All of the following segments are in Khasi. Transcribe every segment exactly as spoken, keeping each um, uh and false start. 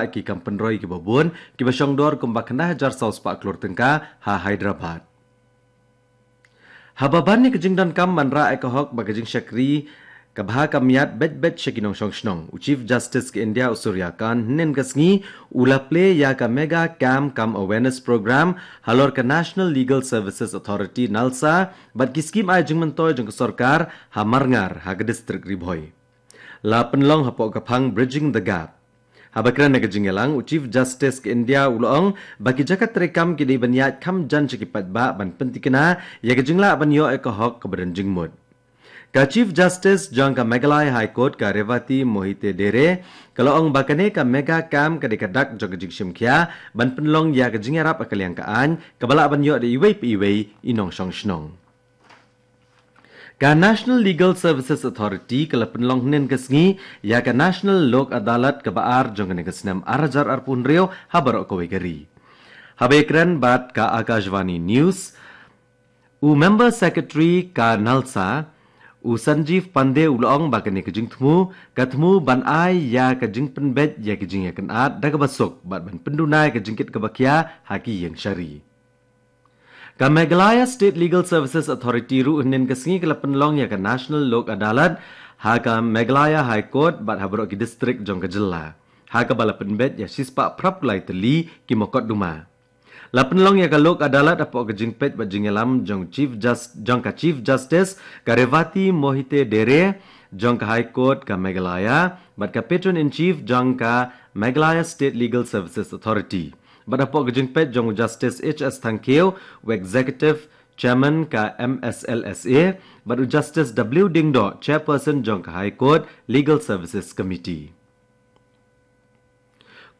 ki kam pynroi kiba bun kiba shongdor kumba khyndai hajar saw spah klur tyngka ha Hyderabad. Haba ban ïa ka jingdonkam ban rah ïa ka hok bad ka jingshakri kaba ha ka miat beit beit sha ki nongshong shnong, u Chief Justice ka India u Surya Kant hynnin ka sngi u la plie ïa ka Mega Camp cum Awareness Program halor ka National Legal Services Authority, NALSA, bad ki skim ai jingmyntoi jong ka sorkar ha Marngar ha ka distrik Ri Bhoi. La pynlong hapoh ka phang Bridging the Gap. Haba kren ha ka jingïalang, u Chief Justice ka India u la ong ba ki jaka treikam ki dei ban ïaid kham jan sha ki paidbah ban pyntikna ïa ka jinglah ban ïoh ïa ka hok kaba don jingmut. Ka Chief Justice jong ka Meghalaya High Court, ka Revati Mohite Dere, ka la ong ba kane ka Mega Camp ka dei ka dak jong ka jingshim khia ban pynlong ïa ka jingïarap ha ka liang ka aiñ kaba lah ban ïoh da iwei pa iwei i nongshong shnong. Ka National Legal Services Authority ka la pynlong hynnin ka sngi ïa ka National Lok Adalat kaba ar jong kane ka snem ar hajar arphew hynriew ha baroh kawei ka ri. Haba ïakren bad ka Akashvani News, u Member Secretary ka NALSA, u Sanjeev Pandey u la ong ba kane ka jingthmu ka thmu ban ai ïa ka jingpynbeit ïa ka jingïakynad da kaba suk bad ban pynduna ïa ka jingkit kaba khia ha ki ïing shari. Ka Meghalaya State Legal Services Authority ruh hynnin ka sngi ka la pynlong ïa ka National Lok Adalat ha ka Meghalaya High Court bad ha baroh ki distrik jong ka jylla, ha kaba la pynbeit ïa shispah phraphew lai tylli ki mukotduma. La pynlong ïa ka Lok Adalat hapoh ka jingpeit bad jingïalam jong Chief Jus- jong ka Chief Justice, ka Revati Mohite Dere jong ka High Court ka Meghalaya bad ka Patron in Chief jong ka Meghalaya State Legal Services Authority, bad hapoh ka jingpeit jong u Justice H S Thangkhiew, u Executive Chairman ka MSLSA, bad u Justice W Diengdoh, Chairperson jong ka High Court Legal Services Committee.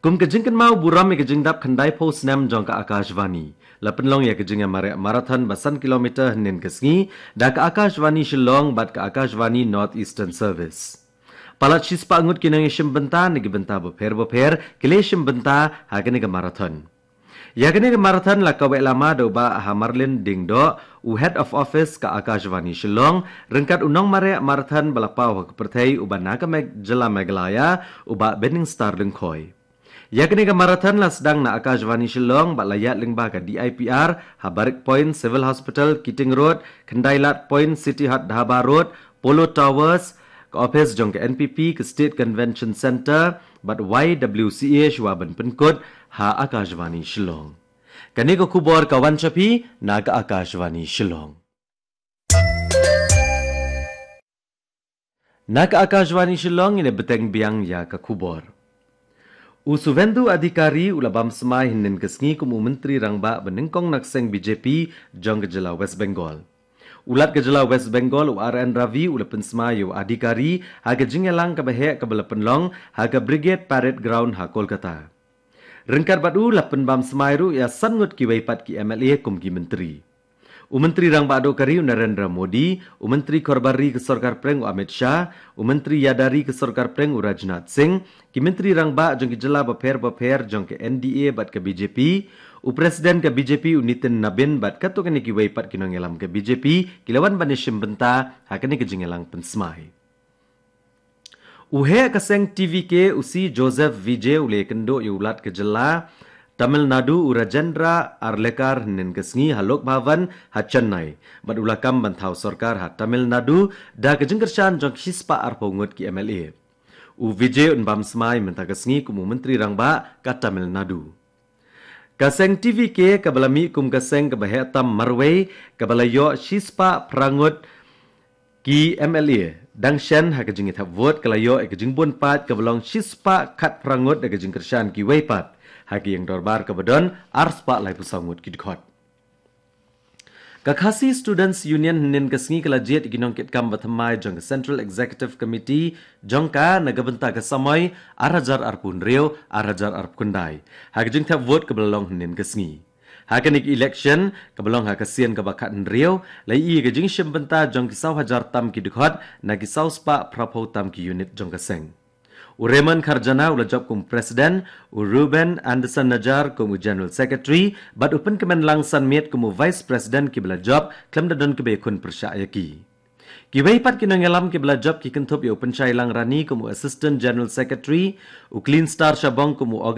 Kum ka jingkynmaw burom ïa ka jingdap khyndaiphew snem jong ka Akashvani, la pynlong ïa ka jingïamareh marathon ba san kilometer hynnin ka sngi da ka Akashvani Shillong bad ka Akashvani North Eastern Service. Palat shispah ngut ki nongïashim bynta na ki bynta bapher bapher ki la ïashim bynta ha kane ka marathon. Ïa kane ka marathon la kaweh lama da u Bah Hamarlin Diengdoh, u Head of Office ka Akashvani Shillong, ryngkat u nongmareh marathon ba la paw ha ka pyrthei uba na ka Meg- jylla Meghalaya, u Bah Benningstar Lyngkhoi. Ïa kane ka marathon la sdang na Akashvani Shillong bad la ïaid lyngba ka DIPR ha Barrack Point Civil Hospital, Keating Road, Khyndailad Point, City Hut Dhaba Road, Polo Towers, ka ophis jong ka NPP, ka State Convention Centre bad YWCA, shuwa ban pynkut ha Akashvani Shillong. Kane ka khubor ka wan sha phi na ka Akashvani Shillong. Na ka Akashvani Shillong, ngin ïa bteng biang ïa ka khubor. U Suvendu Adhikari u la bam smai hynnin ka sngi kum u Myntri Rangbah ba nyngkong na ka seng BJP jong ka jylla West Bengal. U Lat ka jylla West Bengal, u R N Ravi, u la pynsmai ïa u Adhikari ha ka jingïalang kaba heh kaba la pynlong ha ka Brigade Parade Ground ha Kolkata. Ryngkat bad u, la pynbam smai ruh ïa san ngut kiwei pat ki MLA kum ki Myntri. U Myntri Rangbah Duh ka ri u Narendra Modi, u Myntri Khorbar Ri ka Sorkar Pdeng u Amit Shah, u Myntri Ïada Ri ka Sorkar Pdeng u Rajnath Singh, ki Myntri Rangbah jong ki jylla bapher bapher jong ka NDA bad ka BJP, u President ka BJP u Nitin Nabin bad katto katne kiwei pat ki nongïalam ka BJP ki la wan ban ïashim bynta ha kane ka jingïalang pynsmai. U heh ka seng TVK, u C Joseph Vijay, u la ïakynduh ïa u Lat ka jylla Tamil Nadu, u Rajendra Arlekar, hynnin ka sngi ha Lok Bhavan ha Chennai bad u la kam ban thaw sorkar ha Tamil Nadu da ka jingkyrshan jong shispah arphew ngut ki MLA. U Vijay un bam smai mynta ka sngi kum u Myntri Rangbah ka Tamil Nadu. Ka seng TVK kaba la mih kum ka seng kaba heh tam marwei kaba la ïoh shispah phra ngut ki MLA. Dang shen ha ka jingïathep vote ka la ïoh ïa ka jingbun paid kaba long shispah khatphra ngut da ka jingkyrshan kiwei pat ha ka ïing dorbar kaba don arspah laiphew saw ngut ki dkhot. Ka Khasi Students Union hynnin ka sngi ka la jied ïa ki nongkitkam ba thymmai jong ka Central Executive Committee jong ka na ka bynta ka samoi ar hajar arphew hynriew ar hajar arphew khyndai ha ka jingthep vote kaba la long hynnin ka sngi. Ha kane ka election kaba long ha ka sien kaba khathynriew, la ïohi ïa ka jingshim bynta jong ki saw hajar tam ki dkhot na ki saw spah phraphew tam ki unit jong ka seng. U Raymond Kharjana u la jop kum u President, u Reuben Anderson Najar kum u General Secretary bad u Pynkmenlang Sanmiet kum u Vice President kiba la jop khlem da don kiba ïakhun pyrshah ïa ki. Kiwei pat ki nongialam kiba la jop ki kynthup ïa u Pynshai Langrani kum u Assistant General Secretary, u Clean Star Shabong kum u